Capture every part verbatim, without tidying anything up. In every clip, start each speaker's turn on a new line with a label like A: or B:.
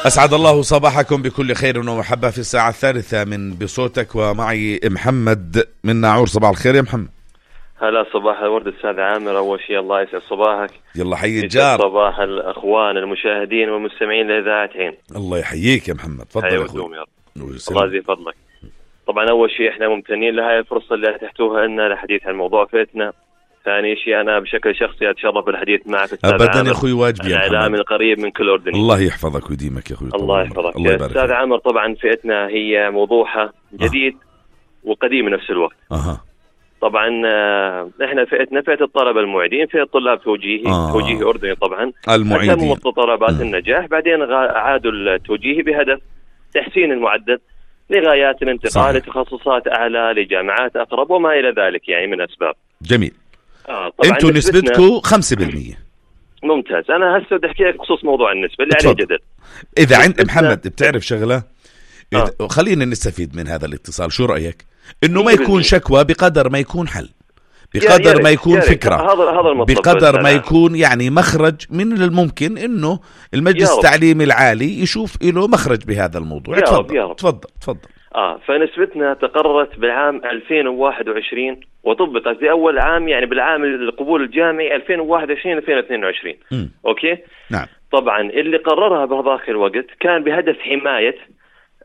A: أسعد الله صباحكم بكل خير ومحبة في الساعة الثالثة من بصوتك، ومعي محمد من ناعور. صباح الخير يا محمد.
B: هلا صباح الورد أستاذ عامر. أول شيء الله يسعد صباحك.
A: يلا حي الجار.
B: صباح الأخوان المشاهدين والمستمعين لإذاعة عين.
A: الله يحييك يا محمد. تفضل يا أخوي.
B: الله يزيد فضلك. طبعا أول شيء إحنا ممتنين لهاي الفرصة اللي أتحتوها لنا للحديث عن موضوع فئتنا. ثاني شيء أنا بشكل شخصي أتشرف بالحديث معك أستاذ عامر.
A: أبدا يا أخوي، واجبي.
B: الإعلام القريب من كل أردني.
A: الله يحفظك ويديمك يا أخوي.
B: الله يحفظك أستاذ عامر. طبعا فئتنا هي موضوعها جديد آه. وقديم بنفس الوقت.
A: أها.
B: طبعا احنا فئتنا فئة الطلبة المعيدين، فئة طلاب توجيهي آه. توجيهي أردني. طبعا
A: المعيدين
B: متطلبات م. النجاح، بعدين عادوا التوجيهي بهدف تحسين المعدل لغايات الانتقال لتخصصات أعلى لجامعات أقرب وما إلى ذلك يعني من أسباب.
A: جميل.
B: آه
A: انتوا نسبتكم خمسة بالمية.
B: ممتاز. أنا هسه بدي أحكي لك بخصوص موضوع النسبة اللي عليه جدل.
A: إذا عند محمد بتعرف شغلة آه. خلينا نستفيد من هذا الاتصال، شو رأيك؟ إنه ما يكون شكوى بقدر ما يكون حل، بقدر يا ما يكون يا فكرة،
B: هذا هذا
A: بقدر ما يكون يعني مخرج من الممكن إنه المجلس التعليمي العالي يشوف له مخرج بهذا الموضوع.
B: يا
A: تفضل.
B: يا
A: تفضل تفضل.
B: آه فنسبتنا تقررت بالعام ألفين وواحد وعشرين وطبقت في أول عام يعني بالعام القبول الجامعي ألفين وواحد وعشرين ألفين واثنين وعشرين.
A: م.
B: أوكي.
A: نعم.
B: طبعا اللي قررها بهذاك الوقت كان بهدف حماية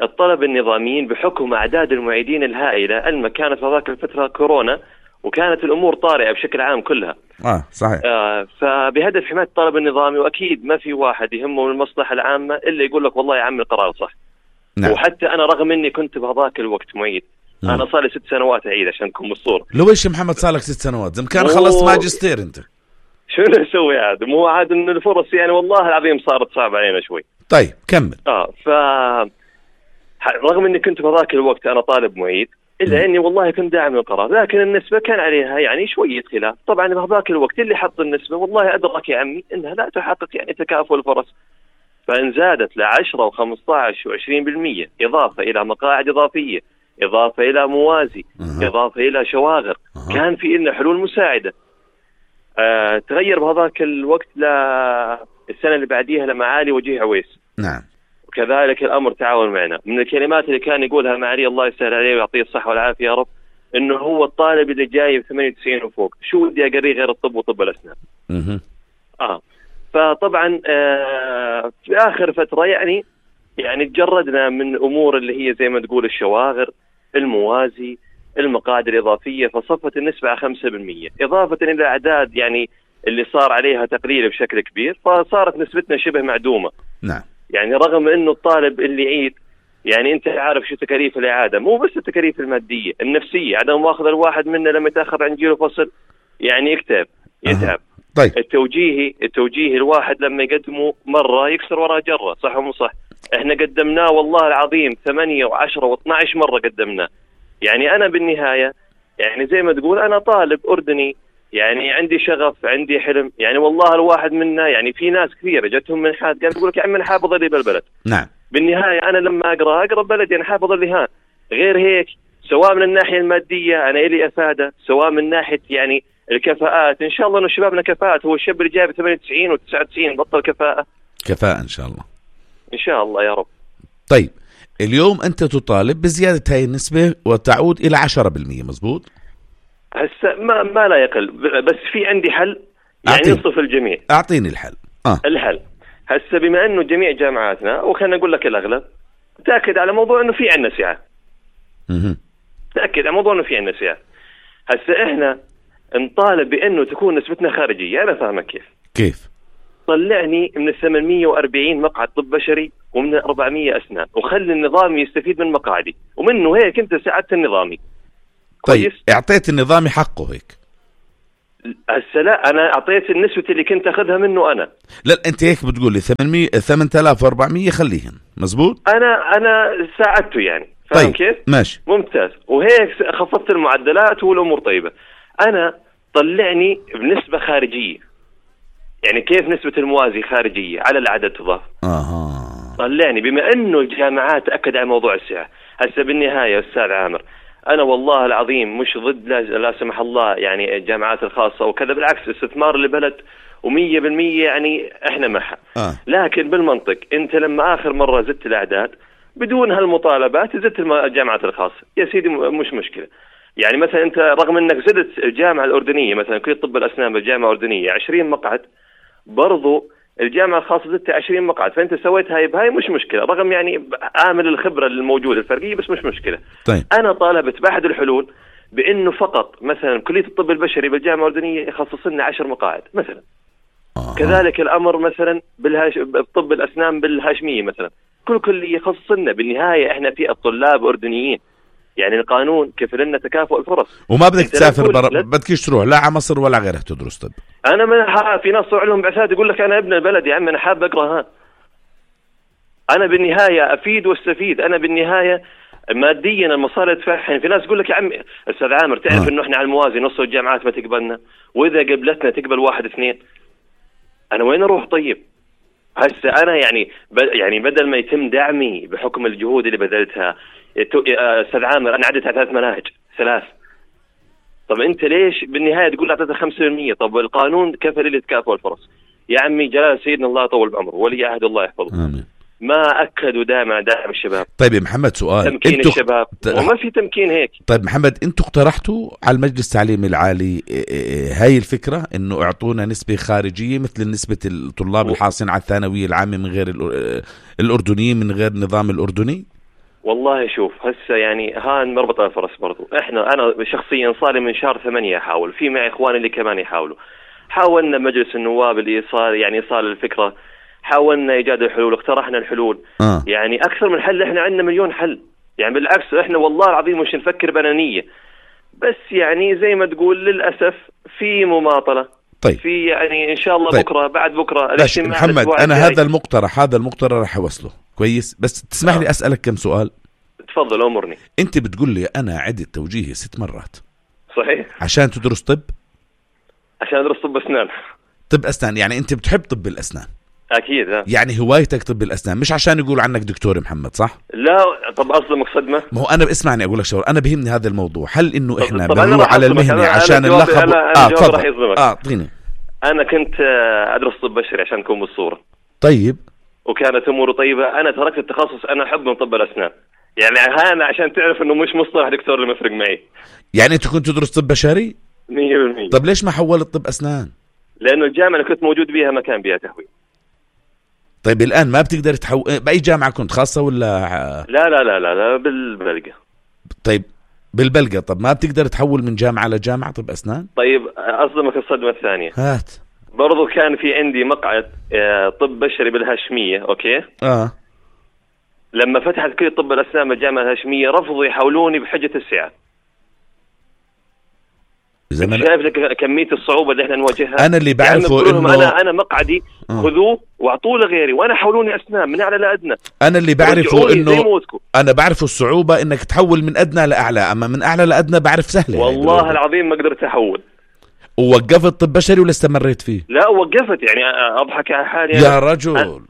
B: الطلبة النظاميين بحكم أعداد المعيدين الهائلة الما كانت في ذاك الفترة كورونا وكانت الأمور طارئة بشكل عام كلها.
A: آه صحيح.
B: آه فبهدف حماية الطلبة النظامي، وأكيد ما في واحد يهمه المصلحة العامة إلا يقول لك والله يا عم القرار صح.
A: نعم.
B: وحتى أنا رغم إني كنت بهذاك الوقت معيد، م. أنا صار لي ست سنوات أعيد عشان نكون بالصورة.
A: لو إيش محمد صار لك ست سنوات؟ زم كان خلصت ماجستير أنت.
B: شو نسوي عاد؟ مو عاد إن الفرص يعني والله العظيم صارت صعبة علينا شوي.
A: طيب كمل.
B: آه ف رغم إني كنت بهذاك الوقت أنا طالب معيد، إلا م. إني والله كنت داعم للقرار، لكن النسبة كان عليها يعني شوية خلاف. طبعا بهذاك الوقت اللي حط النسبة والله أدرك يا عمي إنها لا تحقق يعني تكافؤ الفرص، فإن زادت لعشرة وخمسة عشر وعشرين بالمية إضافة إلى مقاعد إضافية، إضافة إلى موازي،
A: أه.
B: إضافة إلى شواغر، أه. كان في لنا حلول مساعدة. آه تغير بهذاك الوقت للسنة اللي بعديها لمعالي وجيه عويس.
A: نعم.
B: وكذلك الأمر تعاون معنا. من الكلمات اللي كان يقولها معالي الله يسهل عليه ويعطيه الصحة والعافية يا رب، إنه هو الطالب اللي جاي بثمانية وتسعين وفوق شو بدي أقريه غير الطب وطب الأسنان.
A: أه.
B: آه فطبعا آه في آخر فترة يعني يعني تجردنا من أمور اللي هي زي ما تقول الشواغر، الموازي، المقاعد الإضافية، فصفت النسبة على خمسة بالمية إضافة إلى أعداد يعني اللي صار عليها تقليل بشكل كبير، فصارت نسبتنا شبه معدومة.
A: نعم.
B: يعني رغم إنه الطالب اللي يعيد يعني أنت عارف شو تكاليف الإعادة، مو بس التكاليف المادية، النفسية، عدم مؤاخذة الواحد منا لما يتأخر عن جيله فصل يعني يكتب يتعب.
A: أه. طيب.
B: التوجيهي التوجيهي الواحد لما يقدمه مرة يكسر وراء جرة، صح ومو صح؟ احنا قدمناه والله العظيم ثمانية وعشرة واثنى عشر مرة قدمناه. يعني أنا بالنهاية يعني زي ما تقول أنا طالب أردني، يعني عندي شغف، عندي حلم، يعني والله الواحد منا يعني في ناس كثيرة جتهم من حاد قال يقول لك يا عم أنا حابب أضل بالبلد.
A: نعم.
B: بالنهاية أنا لما أقرأ أقرأ بلدي، أنا حابب أضل ها. غير هيك سواء من الناحية المادية أنا إلي أفادة، سواء من ناحية يعني الكفاءات، إن شاء الله إنه شبابنا كفاءات. هو الشاب اللي جايب ثمانية وتسعين وتسعة وتسعين بطل كفاءة
A: كفاءة إن شاء الله.
B: إن شاء الله يا رب.
A: طيب اليوم أنت تطالب بزيادة هاي النسبة وتعود إلى عشرة بالمية مزبوط؟
B: هسه ما ما لا يقل، بس في عندي حل يعني ينصف الجميع.
A: أعطيني الحل.
B: آه. الحل هسه بما إنه جميع جامعاتنا وخلنا نقول لك الأغلب تأكد على موضوع إنه في عنا سعة.
A: مه.
B: تأكد على موضوع إنه في عنا سعة. هسه إحنا نطالب بأنه تكون نسبتنا خارجية. أنا فاهمك كيف.
A: كيف؟
B: طلعني من ثمانمية وأربعين مقعد طب بشري ومن أربعمية أسنان، وخلي النظام يستفيد من مقاعدي، ومنه هيك أنت ساعدت النظامي.
A: طيب اعطيت النظامي حقه هيك.
B: هسه لا، أنا أعطيت النسبة اللي كنت أخذها منه أنا.
A: لا أنت هيك بتقول لي ثمانمية ثمانية آلاف وأربعمية خليهم مزبوط.
B: أنا أنا ساعدته يعني. فاهم
A: طيب.
B: كيف؟
A: ماشي
B: ممتاز. وهيك خفضت المعدلات والأمور طيبة. أنا طلعني بنسبة خارجية. يعني كيف نسبة الموازي خارجية على العدد تضاف.
A: أها.
B: طلعني بما أنه الجامعات أكد على موضوع السعة. هسه بالنهاية أستاذ عامر أنا والله العظيم مش ضد لا, لا سمح الله يعني الجامعات الخاصة وكذا، بالعكس استثمار لبلد ومية بالمية يعني احنا معها.
A: آه.
B: لكن بالمنطق انت لما اخر مرة زدت الاعداد بدون هالمطالبات زدت الجامعات الخاصة يا سيدي مش مشكلة. يعني مثلا انت رغم انك زدت الجامعة الاردنية مثلا كلية طب الاسنان بالجامعة الاردنية عشرين مقعد، برضو الجامعة الخاصة زدت عشرين مقعد، فانت سويت هاي بهاي مش مشكلة رغم يعني عامل الخبرة الموجودة الفرقية بس مش مشكلة.
A: طيب.
B: انا طالبت بأحد الحلول بانه فقط مثلا كلية الطب البشري بالجامعة الأردنية يخصص لنا عشر مقاعد مثلا. آه. كذلك الامر مثلا بالهاش... بطب الاسنان بالهاشمية مثلا كل كلية يخصص لنا. بالنهاية احنا في الطلاب اردنيين، يعني القانون كفل لنا تكافؤ الفرص.
A: وما بدك تسافر برا، بدكش تروح لا على مصر ولا غيرها تدرس طب.
B: انا من ح... في ناس صار لهم بعثات يقول لك انا ابن البلد يا عم انا حاب اقرا. ها انا بالنهايه افيد واستفيد. انا بالنهايه ماديا المصاري ادفعها. في ناس يقول لك يا عم استاذ عامر تعرف آه. انه احنا على الموازي نص الجامعات ما تقبلنا، واذا قبلتنا تقبل واحد اثنين. انا وين اروح طيب؟ هسه انا يعني ب... يعني بدل ما يتم دعمي بحكم الجهود اللي بذلتها استاذ عامر انا عدت على ثلاث مناهج ثلاث. طب انت ليش بالنهايه تقول اعطيته خمسة بالمية؟ طب القانون كفل لي تكافؤ الفرص. يا عمي جلال سيدنا الله يطول بعمره ولي عهد الله يحفظه. آمين. ما اكدوا دائما دعم الشباب.
A: طيب يا محمد سؤال،
B: تمكين انتو... الشباب ت... وما في تمكين هيك.
A: طيب محمد انتوا اقترحتوا على المجلس التعليمي العالي هاي الفكره انه اعطونا نسبه خارجيه مثل نسبه الطلاب الحاصلين على الثانويه العامه من غير الاردنيين من غير النظام الاردني؟
B: والله شوف هسه يعني هان مربطة الفرس برضو. احنا انا شخصيا صار من شهر ثمانية احاول، في معي اخواني اللي كمان يحاولوا. حاولنا مجلس النواب الايصال يعني ايصال الفكرة، حاولنا ايجاد الحلول، اقترحنا الحلول. آه. يعني اكثر من حل، احنا عندنا مليون حل. يعني بالعكس احنا والله العظيم مش نفكر بأنانية، بس يعني زي ما تقول للاسف في مماطلة.
A: طيب.
B: في يعني ان شاء الله طيب. بكره بعد بكره
A: محمد انا هذا المقترح هذا المقترح راح اوصله كويس، بس تسمح لي اسالك كم سؤال؟
B: تفضل امرني.
A: انت بتقول لي انا عدت توجيهي ست مرات
B: صحيح
A: عشان تدرس طب؟
B: عشان ادرس طب اسنان.
A: طب اسنان يعني انت بتحب طب الاسنان؟
B: اكيد. ها.
A: يعني هوايتك طب الاسنان مش عشان يقول عنك دكتور محمد صح؟
B: لا طب اصدمك صدمه.
A: ما هو انا اسمعني اقول لك شغله، انا بهمني هذا الموضوع، هل انه احنا بنروح على المهنه عشان اللقب؟ اه تفضل. اه اعطيني.
B: انا كنت ادرس طب بشري عشان اكون بالصوره.
A: طيب.
B: وكانت اموره طيبه. انا تركت التخصص، انا احب من طب الاسنان. يعني انا عشان تعرف انه مش مصطلح دكتور اللي مفرق معي.
A: يعني انت كنت تدرس طب بشري؟
B: مية بالمية.
A: طب ليش ما حولت طب اسنان؟
B: لانه الجامعه اللي كنت موجود بيها ما كان بيها تهويل.
A: طيب الان ما بتقدر تحول باي جامعه كنت خاصه ولا؟
B: لا لا لا لا, لا بالبلقه.
A: طيب بالبلقه. طب ما بتقدر تحول من جامعه لجامعه طب اسنان؟
B: طيب اصدمك الصدمه الثانيه.
A: هات.
B: برضو كان في عندي مقعد طب بشري بالهاشميه. اوكي.
A: اه
B: لما فتحت كلية طب الاسنان بالجامعه الهاشميه رفضوا يحولوني بحجه السعر. زمان شايف لك كميه الصعوبه اللي احنا نواجهها.
A: انا اللي بعرفه
B: يعني انه انا انا مقعدي آه. خذوه واعطوه لغيري وانا حولوني اسنان من اعلى لادنى.
A: انا اللي بعرفه انه انا بعرفه الصعوبه انك تحول من ادنى لاعلى، اما من اعلى لادنى بعرف سهله.
B: والله يعني العظيم ما قدرت احول.
A: ووقفت طب بشري ولا استمريت فيه؟
B: لا وقفت. يعني اضحك على حالي
A: يا رجل.
B: أنا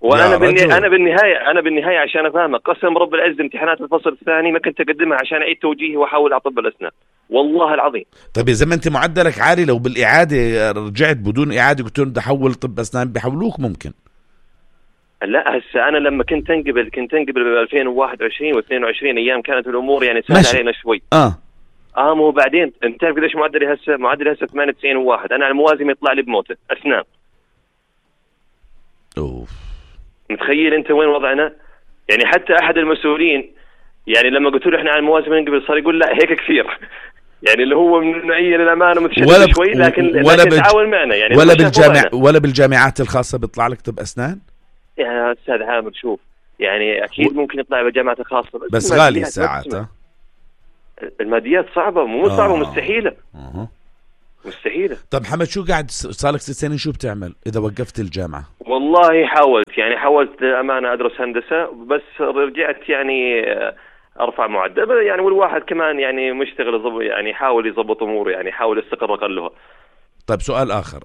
B: وانا بالني... انا بالنهايه انا بالنهايه عشان افهمك قسم رب العز امتحانات الفصل الثاني ما كنت اقدمها عشان اعيد توجيهي واحاول على طب الاسنان والله العظيم.
A: طيب اذا ما انت معدلك عالي لو بالاعاده رجعت بدون اعاده قلت لهم بدي احول طب اسنان بيحولوك ممكن.
B: لا هسه انا لما كنت انقبل كنت انقبل ب ألفين وواحد وعشرين واثنين وعشرين ايام كانت الامور يعني سهله علينا شوي.
A: اه
B: اه مو بعدين انت تعرف قديش معدلي هسه؟ معدلي هسه ثمانية وتسعين وواحد. انا على الموازي يطلع لي بموته اسنان.
A: اوف.
B: متخيل انت وين وضعنا؟ يعني حتى احد المسؤولين يعني لما قلت له احنا على الموازي بنقبل صار يقول لا هيك كثير. يعني اللي هو من النوعيه للامانه متشدد شوي لكن
A: ولا
B: لكن تعاون معنا يعني
A: ولا بالجامع ولا بالجامعات الخاصه بيطلع لك طب اسنان؟
B: يا استاذ عامر شوف يعني اكيد و... ممكن يطلع بالجامعات الخاصه
A: بس, بس غالي الساعات.
B: الماديات صعبه مو
A: آه.
B: صعبه مستحيله.
A: آه.
B: مستحيله.
A: طب محمد شو قاعد صار لك ست سنين شو بتعمل اذا وقفت الجامعه؟
B: والله حاولت يعني حاولت امانه ادرس هندسه بس رجعت يعني ارفع معدل يعني والواحد كمان يعني مشتغل يعني يحاول يضبط اموره يعني يحاول يستقر اقلها.
A: طيب سؤال اخر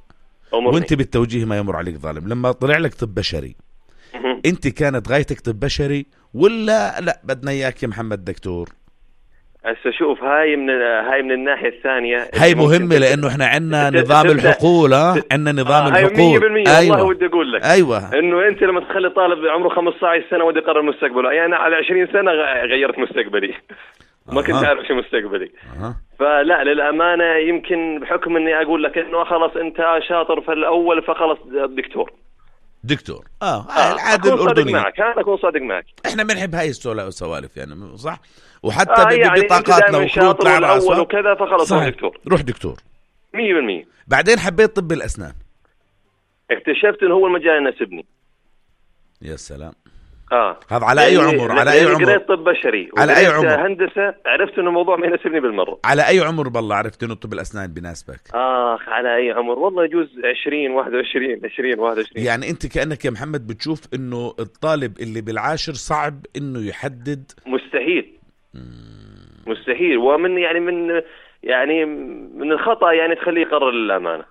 A: أمرني. وانت بالتوجيه ما يمر عليك ظالم لما طلع لك طب بشري انت كانت غايتك طب بشري ولا لا بدنا اياك يا محمد دكتور؟
B: هسه شوف، هاي من هاي من الناحيه الثانيه
A: هاي مهمه، لانه احنا عندنا نظام الحقول، ها عندنا نظام
B: آه
A: الحقول.
B: ايوه والله ودي اقول لك
A: ايوه
B: انه انت لما تخلي طالب عمره خمسة عشر سنه ودي يقرر مستقبله، يعني انا على عشرين سنه غيرت مستقبلي ما كنت أعرف شو مستقبلي. أه. فلا للامانه يمكن بحكم اني اقول لك انه خلاص انت شاطر في الاول فخلص دكتور
A: دكتور اه, آه. العادة الأردنية
B: معك. أنا أكون صادق معك.
A: إحنا بنحب هاي السوالف يعني صح، وحتى آه يعني ببطاقاتنا وكروت
B: طلع الأول وكذا فخلص روح دكتور.
A: روح دكتور
B: مية بالمية.
A: بعدين حبيت طب الأسنان،
B: اكتشفت إنه هو المجال يناسبني.
A: يا سلام.
B: اه
A: هذا على اي عمر؟ على اي عمر؟
B: قريت طب بشري
A: على اي عمر؟
B: هندسه، عرفت انه الموضوع ما يناسبني بالمره.
A: على اي عمر بالله عرفت انه طب الاسنان بيناسبك؟
B: اخ على اي عمر؟ والله يجوز عشرين واحد وعشرين عشرين واحد وعشرين.
A: يعني انت كانك يا محمد بتشوف انه الطالب اللي بالعاشر صعب انه يحدد.
B: مستحيل مستحيل، ومن يعني من يعني من الخطا يعني تخليه يقرر للامانه.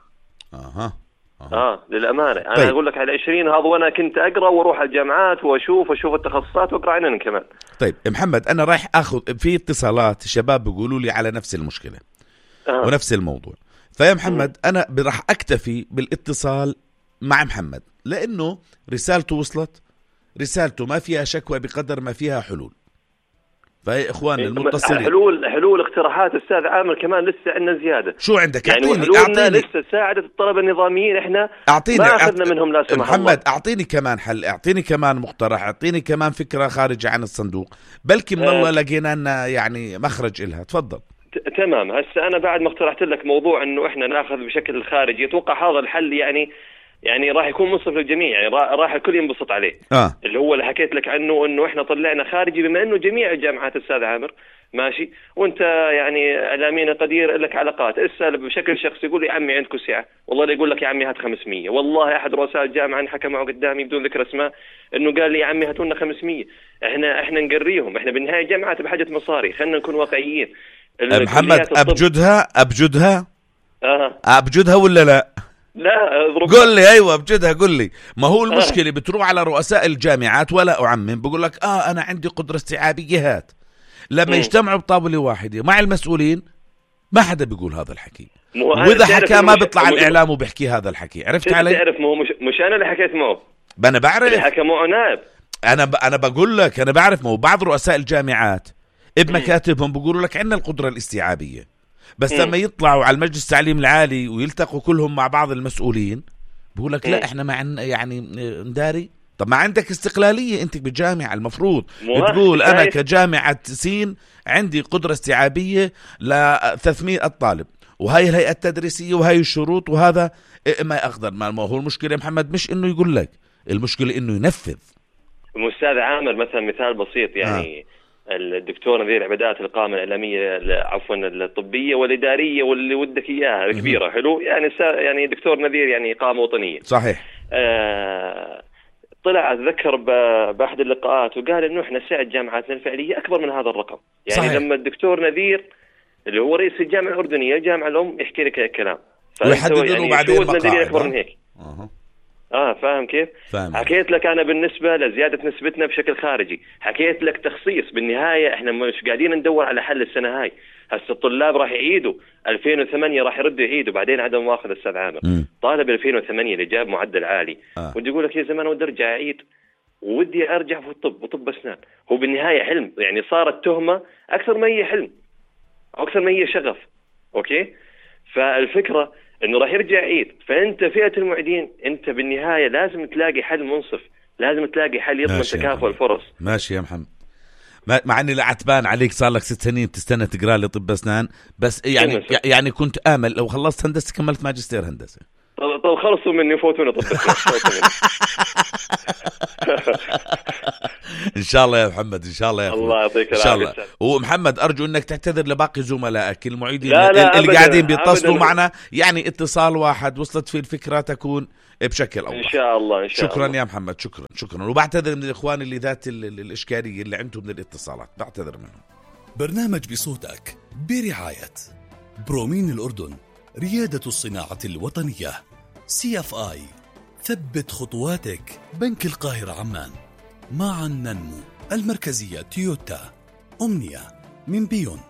A: اها
B: آه. اه للامانه انا طيب. اقول لك على عشرين هذا، وانا كنت اقرا واروح الجامعات واشوف واشوف التخصصات واقرا عنهم كمان.
A: طيب محمد، انا رايح اخذ في اتصالات شباب بيقولوا لي على نفس المشكله آه. ونفس الموضوع، فيا محمد م. انا راح اكتفي بالاتصال مع محمد لانه رسالته وصلت، رسالته ما فيها شكوى بقدر ما فيها حلول. فهي اخواننا المتصلين
B: حلول حلول اقتراحات استاذ عامر كمان لسه عندنا زياده.
A: شو عندك؟
B: يعني
A: اعطيني
B: اعطيني لسه ساعدت الطلبه النظاميين احنا
A: أعطيني.
B: ما اخذنا أعطيني. منهم لا سمح الله.
A: محمد اعطيني كمان حل، اعطيني كمان مقترح، اعطيني كمان فكره خارجه عن الصندوق، بلكي من الله لقينا لنا يعني مخرج إلها. تفضل.
B: تمام. هسه انا بعد ما اقترحت لك موضوع انه احنا ناخذ بشكل خارجي، اتوقع هذا الحل يعني يعني راح يكون منصف للجميع، يعني راح الكل ينبسط عليه.
A: آه.
B: اللي هو اللي حكيت لك عنه انه احنا طلعنا خارجي، بما انه جميع الجامعات استاذ عامر ماشي، وانت يعني اعلامينا قدير لك علاقات، اسال بشكل شخصي يقول لي عمي عندكم سعه، والله لا يقول لك يا عمي هات خمسمية. والله احد رؤساء الجامعه حكى معه قدامي بدون ذكر اسماء انه قال لي يا عمي هاتوا لنا خمسمية. احنا احنا نقريهم، احنا بالنهايه الجامعات بحاجه مصاري، خلينا نكون واقعيين.
A: محمد ابجدها ابجدها
B: اه
A: ابجدها ولا لا؟
B: لا اضرب.
A: قل لي ايوه بجدها، قل لي. ما هو المشكله بتروح على رؤساء الجامعات ولا اعمم، بقول لك اه انا عندي قدره استيعابيه هات، لما م. يجتمعوا بطاوله واحده مع المسؤولين ما حدا بيقول هذا الحكي، واذا حكى ما بيطلع الاعلام وبيحكي هذا الحكي. عرفت علي؟
B: تعرف مو مش, مش انا اللي حكيت معه،
A: انا بعرف
B: اللي حكى معه نائب.
A: انا ب... انا بقول لك انا بعرف. ما هو بعض رؤساء الجامعات بمكاتبهم بيقولوا لك عندنا القدره الاستيعابيه، بس م. لما يطلعوا على المجلس التعليم العالي ويلتقوا كلهم مع بعض المسؤولين بيقول لك لا احنا ما عندنا يعني نداري. طب ما عندك استقلالية انت بالجامعة، المفروض بتقول انا كجامعة سين عندي قدرة استيعابية ل ثلاثمية طالب، وهي الهيئة التدريسية وهي الشروط وهذا ما اقدر. ما هو المشكلة يا محمد مش انه يقول لك، المشكلة انه ينفذ.
B: أستاذ عامر مثلا مثال بسيط يعني آه. الدكتور نذير عبادات القامة الإعلامية عفوا الطبية والإدارية واللي ودك إياها كبيرة حلو يعني يعني دكتور نذير يعني قامة وطنية
A: صحيح.
B: آه طلع أتذكر بأحد اللقاءات وقال إنه إحنا سعة جامعاتنا الفعلية أكبر من هذا الرقم. يعني صحيح. لما الدكتور نذير اللي هو رئيس الجامعة الأردنية الجامعة الأم يحكي لك الكلام
A: ويحددونه يعني بعدين مقاعد
B: أكبر من هيك.
A: أه.
B: اه فاهم كيف؟
A: فاهم.
B: حكيت لك انا بالنسبه لزياده نسبتنا بشكل خارجي، حكيت لك تخصيص. بالنهايه احنا مش قاعدين ندور على حل السنه هاي، هسه الطلاب راح يعيدوا ألفين وثمانية راح يردوا يعيدوا، بعدين عدم مؤاخذه استاذ عامر م. طالب ألفين وثمانية اللي جاب معدل عالي آه. ودي يقول لك يا زمان ودي ارجع اعيد ودي ارجع في الطب وطب اسنان. هو بالنهايه حلم، يعني صارت تهمه اكثر ما هي حلم اكثر ما هي شغف. اوكي، فالفكره انه راح يرجع عيد، فانت فئه المعيدين انت بالنهايه لازم تلاقي حل منصف، لازم تلاقي حل يضمن تكافؤ الفرص.
A: ماشي يا محمد، مع اني لعتبان عليك صار لك ست سنين بتستنى تقرا لي طب اسنان، بس يعني يعني كنت امل لو خلصت هندسه كملت ماجستير هندسه.
B: طب طب خلصوا مني فوتونا طب
A: ان شاء الله يا محمد، ان شاء الله يا اخوي.
B: الله يعطيك العافيه.
A: ومحمد ارجو انك تعتذر لباقي زملائك المعيدين اللي قاعدين بيتصلوا معنا، يعني اتصال واحد وصلت فيه الفكره تكون بشكل اوضح
B: ان شاء الله. ان شاء
A: شكرا
B: الله.
A: يا محمد، شكرا شكرا. وبعتذر من الاخوان اللي ذات الاشكاليه اللي عندهم من الاتصالات، بعتذر منهم.
C: برنامج بصوتك برعايه برومين الأردن، ريادة الصناعة الوطنية. سي اف آي، ثبت خطواتك. بنك القاهرة عمان، معا ننمو. المركزية تويوتا. أمنية من بيون،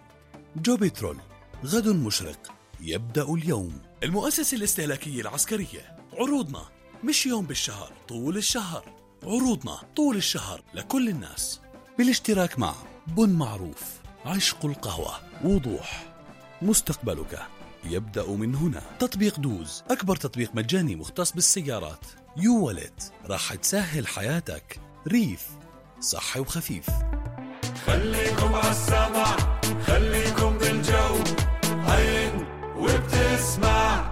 C: جوبيترول، غد مشرق يبدأ اليوم. المؤسسة الاستهلاكية العسكرية، عروضنا مش يوم بالشهر، طول الشهر. عروضنا طول الشهر لكل الناس، بالاشتراك مع بن معروف، عشق القهوة، وضوح. مستقبلك يبدأ من هنا. تطبيق دوز، أكبر تطبيق مجاني مختص بالسيارات. يو والت، راح تسهل حياتك. ريف، صحي وخفيف.
D: خليكم عالسمع، خليكم بالجو، هين وبتسمع.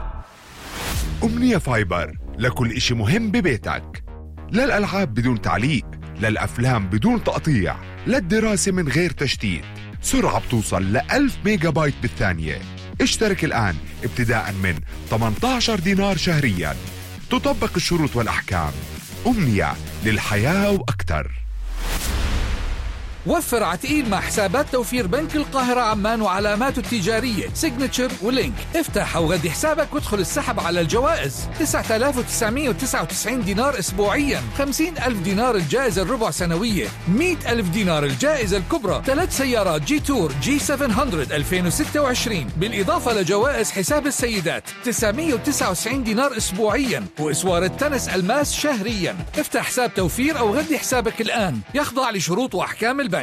E: أمنية فايبر، لكل إشي مهم ببيتك. للألعاب بدون تعليق، للأفلام بدون تقطيع، للدراسة من غير تشتيت. سرعة بتوصل لألف ميجا بايت بالثانية. اشترك الآن ابتداء من ثمانية عشر دينار شهريا. تطبق الشروط والأحكام. أمنية، للحياة وأكتر.
F: وفر عتقيل مع حسابات توفير بنك القاهرة عمان وعلاماته التجارية سيجنتشر ولينك. افتح أو غدي حسابك وادخل السحب على الجوائز. تسعة آلاف وتسعمية وتسعة وتسعين دينار أسبوعيا، خمسين ألف دينار الجائزة الربع سنوية، مئة ألف دينار الجائزة الكبرى، ثلاث سيارات جي تور جي سبعمية ألفين وستة وعشرين، بالإضافة لجوائز حساب السيدات تسعمية وتسعة وتسعين دينار أسبوعيا، وإسوار التنس الماس شهريا. افتح حساب توفير أو غدي حسابك الآن، يخضع لشروط وأحكام البنك.